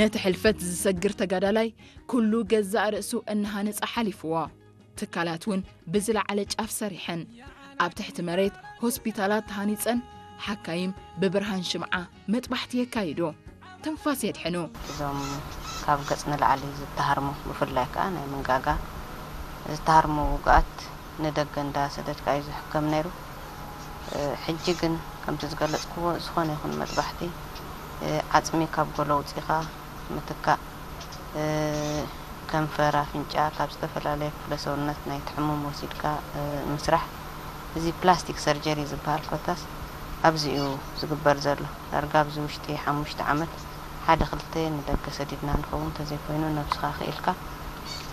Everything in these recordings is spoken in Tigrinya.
ነቲ ሕልፈት ዝሰግር ተጋዳላይ ኩሉ ገዛእ ርእሱ እናሃነጸ ሓሊፍዎ። ትካላት እውን ብዝለዓለ ጫፍ ሰሪሐን። ኣብ ትሕቲ መሬት ሆስፒታላት ተሃኒጸን፣ ሓካይም ብብርሃን ሽምዓ መጥባሕቲ የካይዱ። ትንፋስ የድሕኑ። እዞም ካብ ገጽ ንላዕሊ ዝተሃርሙ፣ ብፍላይ ከኣ ናይ መንጋጋ ዝተሃርሙ ውግኣት ንደገ እንዳሰደድካ እዩ ዝሕከም ነይሩ። እ፣ ሕጂ ግን ከምቲ ዝገለጽክዎ ዝኾነ ይኹን መጥባሕቲ፣ እ፣ ዓጽሚ ካብ ጎሎ ኣውጺኻ ምትካእ፣ እ፣ ከንፈር፣ ኣፍንጫ ካብ ዝተፈላለየ ክፍለ ሰውነት ናይቲ ሕሙም ወሲድካ፣ እ፣ ምስራሕ። እዚ ፕላስቲክ ሰርጀሪ ዝበሃል ኮታስ ኣብዚ እዩ ዝግበር ዘሎ። ዳርጋ ኣብዚ ውሽጢ ሓሙሽተ ዓመት ሓደ ክልተ ንደገ ሰዲድና ንኸውን፣ እንተዘይኮይኑ ነብስኻ ክኢልካ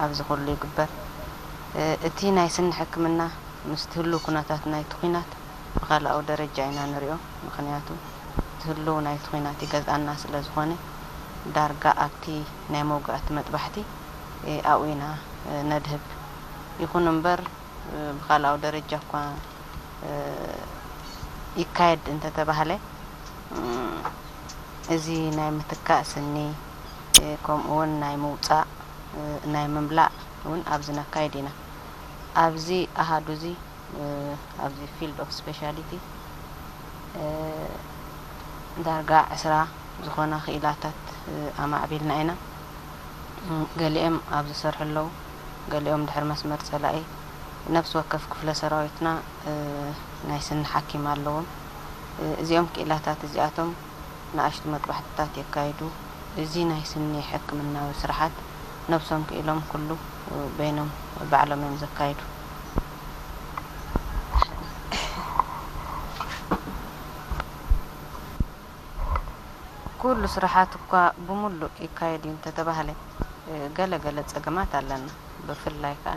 ኣብዚ ኩሉ ይግበር። እ፣ እቲ ናይ ስኒ ሕክምና ምስቲ ህሉው ኩነታት ናይቲ ኲናት ብኻልኣዊ ደረጃ ኢና ንሪኦ። ምኽንያቱ እቲ ህሉው ናይቲ ኲናት ይገዝኣና ስለ ዝኾነ፣ ዳርጋ ኣብቲ ናይ መውጋእቲ መጥባሕቲ፣ እ፣ ኣብኡ ኢና፣ እ፣ ነድህብ። ይኹን እምበር፣ እ፣ ብኻልኣዊ ደረጃ እኳ፣ እ፣ ይካየድ እንተተባህለ፣ እ፣ እዚ ናይ ምትካእ ስኒ፣ እ፣ ከምኡ እውን ናይ ምውጻእ፣ እ፣ ናይ ምምላእ እውን ኣብዚ ነካይድ ኢና። ኣብዚ ኣሃዱ እዚ፣ እ፣ ኣብዚ ፊልድ ኦፍ ስፔሻሊቲ፣ እ፣ ዳርጋ ዕስራ ዝኾና ክኢላታት፣ እ፣ ኣማዕቢልና ኢና። እ፣ ገሊኦም ኣብ ዝሰርሑ ኣለዉ፣ ገሊኦም ድሕሪ መስመር ጸላኢ። ነፍሲ ወከፍ ክፍለ ሰራዊትና፣ እ፣ ናይ ስኒ ሓኪም ኣለዎም። እ፣ እዚኦም ክኢላታት እዚኣቶም ንኣሽቱ መጥባሕትታት የካይዱ። እዚ ናይ ስኒ ሕክምናዊ ስራሓት ነብሶም ክኢሎም ኩሉ በይኖም ባዕሎም እዮም ዘካይዱ። ኩሉ ስራሓት እኳ ብምሉእ ይካየድ እዩ እንተተባህለ፣ ገለ ገለ ጸገማት ኣለና። ብፍላይ ከኣ